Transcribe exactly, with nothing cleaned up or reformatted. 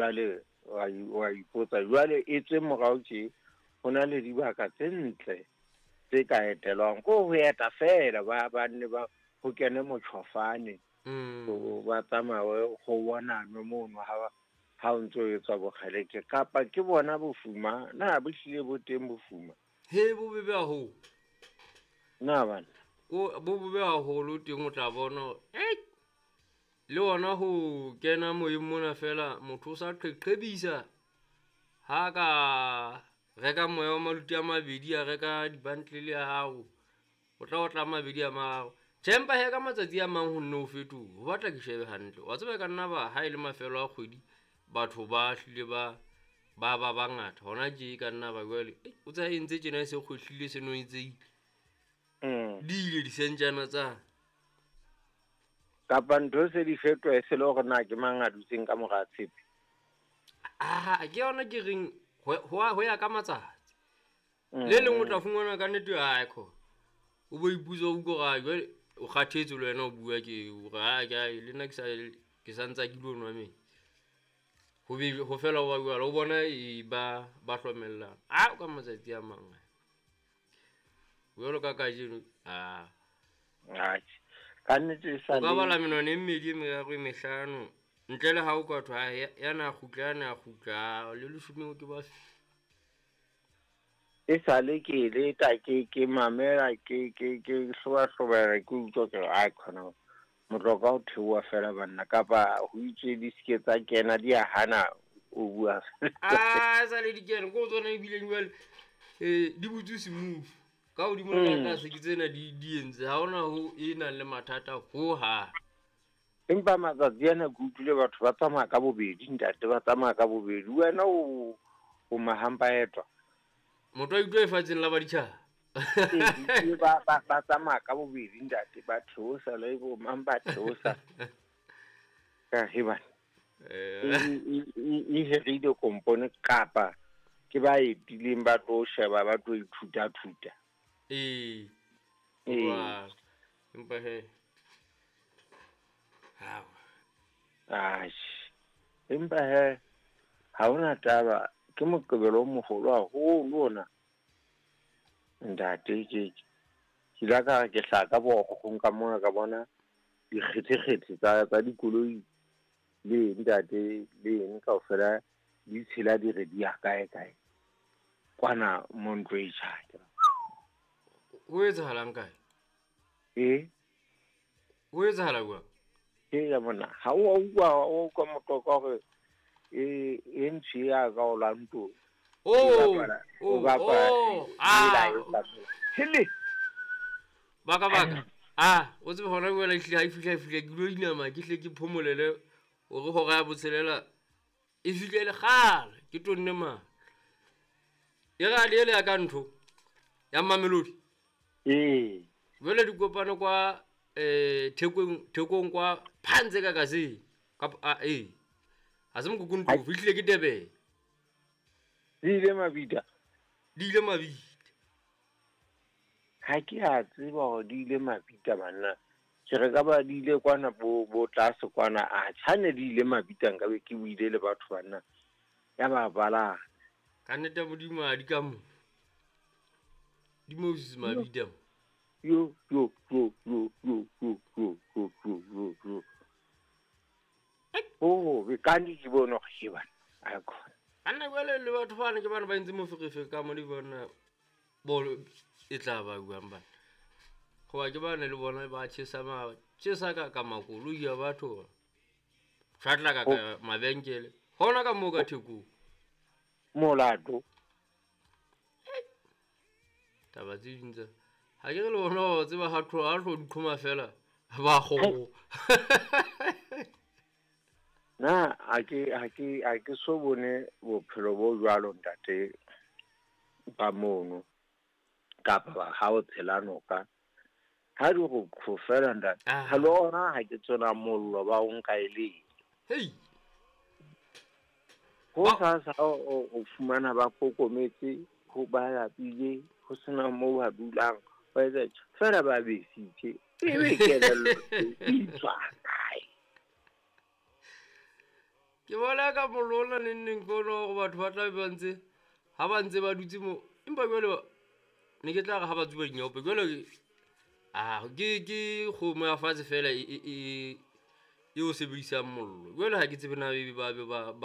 Jwale wa wa ipotsa jwale e tswe morao tje ho na le dibaka tse ntle tse ka etelwang ko ho eta fela ba ba nne ba ho kene motjhofane mm. ba tsamaye ho bonanwe mono ha ha o ntso etswa bokgeleke kapa ke bona bofuma na bo hlile bo teng bofuma he bo bebe haholo na bana o bo bebe haholo teng o tla bona eh le ona ho kena moyeng mona fela motho o sa qeqebisa ha ka reka moya wa maluti a mabedi a reka dibantlele ya hao o tla o tla mabedi a mararo tjhe empa he ka matsatsi a mang ho nne o fetohe ho batla ke shebe hantle wa tseba ka nna ba ha e le mafelo a kgwedi batho ba hlile ba ba ba bangata hona tje ka nna ba jwale o tsa entse tjena e se kgwehlile se no etseile mm di ile disentjana tsa kapa ntho se di fetoha e se le hore na ke mang a dutseng ka mora tshepe ah ke yona ke reng ho ho ya ka matsatsi le leng o tla fumana ka nnete ha kho o bo iputsa o utlwa jwale o kgathetse le wena o bua ke o re ha ke le nna ke sa ke sa ntsa ke lo nwa metsi ho be ho fela wa jwale o bona e ba ba hlomella a ka matsatsi a mang jwalo ka kajeno a atjhe ka nnete e sa le ka bala menwana e mmedi e meraro e mehlano ntle le ha o ka thwa ya na kgutla ya na kgutla le leshome ke ba e sale ke leta ke ke mamela ke ke ke hloba-hlobela ke utlwa ke re ai khona motloka o theoha fela banna kapa ho itswe di ske tsa kena di a hana o bua a sale di kena ko tsona ebileng jwale eh di butse smooth ka hodimo le ka tlase ke tsena di di entse ha hona ho e nang le mathata ho ha empa matsatsi ana ke utlwile batho ba tsamaya ka bobedi ntate ba tsamaya ka bobedi wena o o mahampa etwa motho a utlwa lefatsheng la baditjhaba ee ba ba ba tsamaya ka bobedi ntate ba theosa le bo mang ba theosa ka hebana e herile kompone kapa ke ba etileng ba tlo sheba ba tlo ithuta-thuta ee ee empa he ha atjhe empa he ha hona taba ke Moqebelo o moholo haholo ona ntate ke ke la ka ke hlaka borokgong ka mona ka bona dikgethekgethe tsa tsa dikoloi le ntate le eng kaofela di tshela di re di ya kae kae kwana mo ntlo e tjha ho etsahalang kae e ho etsahala jwang ke ya bona ha o utlwa o utlwa moqoqo hore e e ntshi ya ka o lanto oh o bapala ah hele baka baka ah o tsebe hona jwale hlile ha e fihla e fihla ke lo inama ke hle ke phomolele hore hora ya botshelela e fihle le kgale ke tonne ma e ra le ele ya ka ntho ya Mamelodi ee jwale di kopano kwa eh thekong thekong kwa phantse ka kasi ka a eh ha se mkukuntu fihlile ke Durban di ile mabita di ile mabita ha ke a tseba hore di ile mabita banna ke re ka ba di ile kwana bo bo tlase kwana a tshane di ile mabita nka be ke buile le batho banna ya ba bala ka nnete Modimo a di ka mo di Moses mabita yo yo yo yo yo yo yo yo yo yo yo oh be ka ndi ke bona go bana a khona anna jwale le batho bana ke bana ba entse moferefe ka mo le bona bolo e tla ba buang bana hoba ke bana le bona ba tjhesa ma tjhesa ka ka makoloi ya batho tshwatla ka ka mabenkele hona ka moo ka thekong molato taba tse ding tsa ha ke re le bona ba tseba ha tlo ha tlo di qhoma fela ba kgogo na ha ke ha ke ha ke so bone bophelo bo jwalo ntate ba mono kapa ba ha o tshela noka ha di go khofela ntate ha le ona ha ke tsona mollo ba o nka e le hei ho sa sa o fumana ba kokometse ho ba lapile ho sena moo ba dulang ba etsa fela ba besitse e be kelello e tswa kae Ke bona ka mollo ona neng neng ke ona hore batho ba tla be ba ntse ha ba ntse ba dutse mo, empa jwale ne ke tla re ha ba tsuba dinyaope jwale ah ke ke kgomo ya fatshe fela e e e o sebedisang mollo. Jwale ha ke tsebe na ebe ba be ba ba.